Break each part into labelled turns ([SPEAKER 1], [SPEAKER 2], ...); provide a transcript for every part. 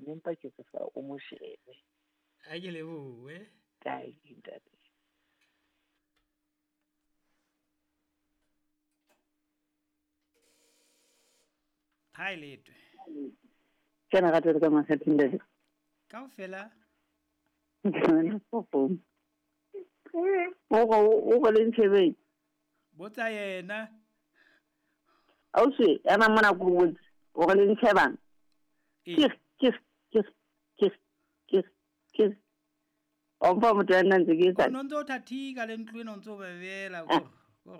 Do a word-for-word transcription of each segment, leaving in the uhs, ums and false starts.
[SPEAKER 1] Empa ke kopa o mo shebe.
[SPEAKER 2] A ke lebohe.
[SPEAKER 1] Kae ntate.
[SPEAKER 2] Ha e letwe.
[SPEAKER 1] Ke na rata ka makgatheng ntate.
[SPEAKER 2] Kaofela.
[SPEAKER 1] O o go le ntshebeng.
[SPEAKER 2] Botsa yena.
[SPEAKER 1] Ausi, ema mona ko botse. O go le ntshebang. Ke ke ke ke ke ke. O mpa motho ya nna ntse ke etsa.
[SPEAKER 2] O no ntse o thathika le ntlo ena o ntse o bebela ko. Ko.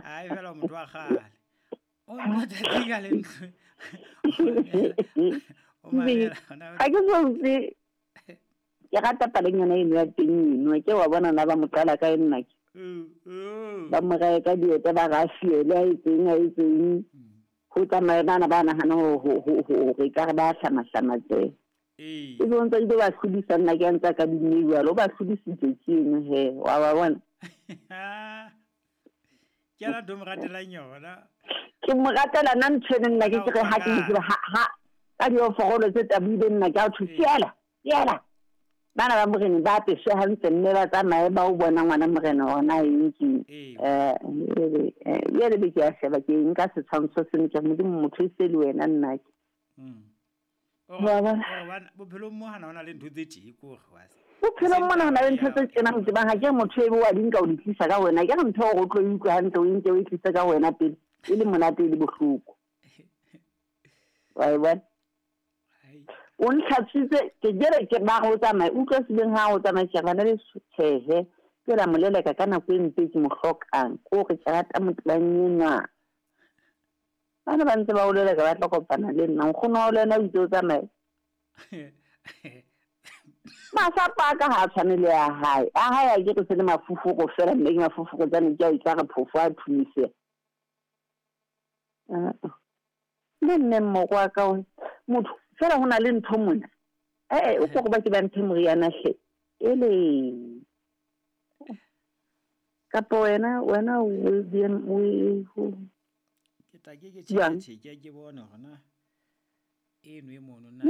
[SPEAKER 2] Ai fela motho wa kgale. O ntse o thathika le ntlo. O mamela.
[SPEAKER 1] Ha ke so utlwe. Ke rata paleng yona eno ya teng eno, ke wa bona na ba mo qala ka nna ke. Ba mo raya ka dieta ba ra fiele a etseng a etseng. Ho tsamaya bana ba nahana ho ho ho hore ka re ba hlamahlama tse.
[SPEAKER 2] Ee.
[SPEAKER 1] E bontsa ile ba hlodisa nna ke a ntsa ka dimme jwalo, ba hlodisitse ke eno he, wa ba bona.
[SPEAKER 2] Ke yona ntho o mo ratelang yona.
[SPEAKER 1] Ke mo ratela nna ntho eno nna ke ke re ha ke tseba ha ha ka dioforolo tse tabuileng nna ke a thwe fiela, fiela. Bana ba morena ba apeswe hantle mme ba tsamaye ba o bona ngwana morena ona eng ke. Eh eh be ke a sheba ke nka setshwantsho seno ke Modimo motho e se le wena nna ke.
[SPEAKER 2] Mm. O bona bophelong mo hana hona le ntho tse tje ko re wa se.
[SPEAKER 1] Bophelong mona hona le ntho tse tjena motho ba ha ke motho e bo wa di nka o di tlisa ka wena ke re ntho o tlo e utlwa hantle o nke o e tlise ka wena pele e le monate e le bohloko. Wa e bona? O ntlhatswitse ke jere ke ba go tsamaya utlwa sebeng ha o tsamaya ke bana le tjhehe ke la moleleka ka nako e mpe ke mo hlokang ko re ke rata motlang enwa. Bana ba ntse ba o leleka ba tla kopana le nna nkgono wa le wena o itse o tsamaye. Masapo a ka ha a tshwane le a hae. A hae a ke re se le mafufuro fela mme ke mafufuro tsane ke a utlwa re phofo a thumise. Le nne mmoko wa ka motho fela ho na le ntho mona. Eh o go ba ke ba nthe moriana hle. Ele. Kapo wena wena o B M o ho.
[SPEAKER 2] Ke tla ke ke tjhe ke ke bone hore na eno e mono na.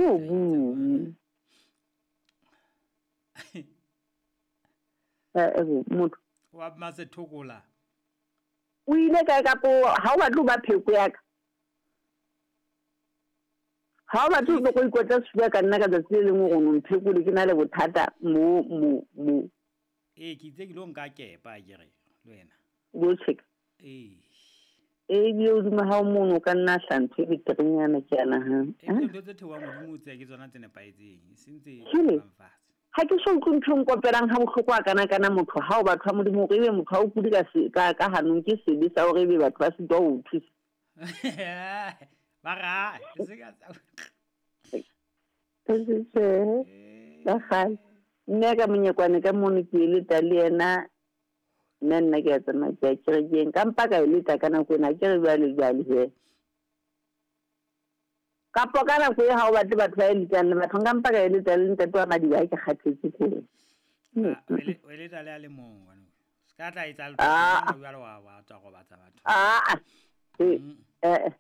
[SPEAKER 1] Eh motho
[SPEAKER 2] wa Masethokola.
[SPEAKER 1] O ile kae kapo ha o batle ba pheko ya ka. Ha o batle go ikotla sefuba ka nna ka tsatsi le lengwe go no mphekole ke na le bothata mo mo mo.
[SPEAKER 2] Ee ke itse ke lo nka kepa ke re le wena.
[SPEAKER 1] Go check.
[SPEAKER 2] Ee.
[SPEAKER 1] Ee ebile hodimo ha o mono ka nna hla ntho e beterenyana ke a nahana.
[SPEAKER 2] Ee ntho tse theohang hodimo tse ke tsona tse nepahetseng e seng tse theohang fatshe.
[SPEAKER 1] Ha ke so utlwe ntho e nkopelang ha bohloko a kana kana motho ha o batho ba Modimo hore ebe motho ha o kule ka ka ka hanong ke sebe sa hore ebe batho ba sitwa ho o thusa.
[SPEAKER 2] Ba ra se ka
[SPEAKER 1] ba kgale mme ka monyekwane ka mono ke eleta le yena mme nna ke a tsamaya ke ya kerekeng ka mpa ka eleta ka nako ena ke re jwale jwale he kapo ka nako e ha o batle batho ba eletang le batho nka mpa ka eleta le ntate wa Madiba ke kgathetse ke
[SPEAKER 2] o eleta le a le mong ngwana se ka tla etsa letho jwale wa wa tswa go batsa batho
[SPEAKER 1] ah eh eh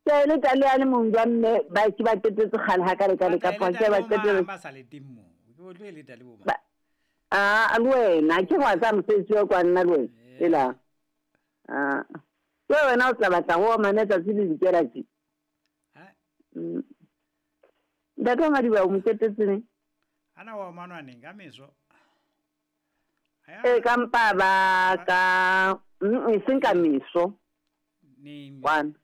[SPEAKER 1] ke eleta le a le mong jwa mme ba ke ba qetetse kgale ha ka le ka le ka pa ke ba qetetse
[SPEAKER 2] ba sa le teng mo ke o tlo eleta le bo ma
[SPEAKER 1] ah le wena ke wa tsa mosebetsi wa kwa nna le wena ela ah ke wena o tla batla go omane tsatsi le dikela tse
[SPEAKER 2] ha
[SPEAKER 1] ntate wa Madiba o mo qetetse neng
[SPEAKER 2] ana wa omanwa neng ka meso
[SPEAKER 1] e ka mpa ba ka e seng ka meso
[SPEAKER 2] neng
[SPEAKER 1] kwana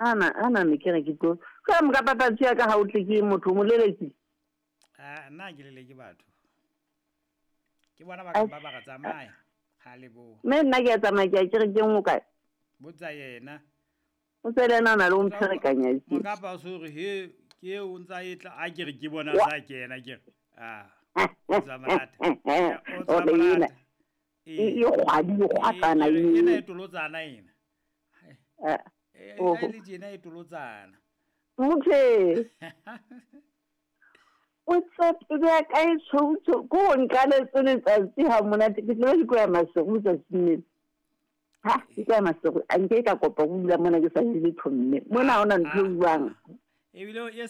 [SPEAKER 1] ana ana ne ke re ke tlo ka mo ka papatsi ya ka ha o tle ke motho mo leleki
[SPEAKER 2] ah nna ke leleke batho ke bona ba ka ba ba tsamaya ha le bo
[SPEAKER 1] mme nna ke a tsamaya ke a kerekeng o kae
[SPEAKER 2] botsa yena
[SPEAKER 1] o tsele ena o na le o mpherekanya
[SPEAKER 2] mo kapa o so re he ke o ntsa e tla a ke re ke bona sa kena ke re ah o tsa marata o tsa marata
[SPEAKER 1] e kgwadi e kgwatsana
[SPEAKER 2] ena e tolotsana ena
[SPEAKER 1] eh
[SPEAKER 2] e le tjena e tolotsana
[SPEAKER 1] mothe o tshepe ya ka e tshoutsho ko o nkaletse letsatsi ha monate ke tlo ke ya masego tsatsing lena ha ke ya masego a nke ka kopa go dula mona ke sa je letho mme mona ha hona ntho e buang
[SPEAKER 2] ebile e sa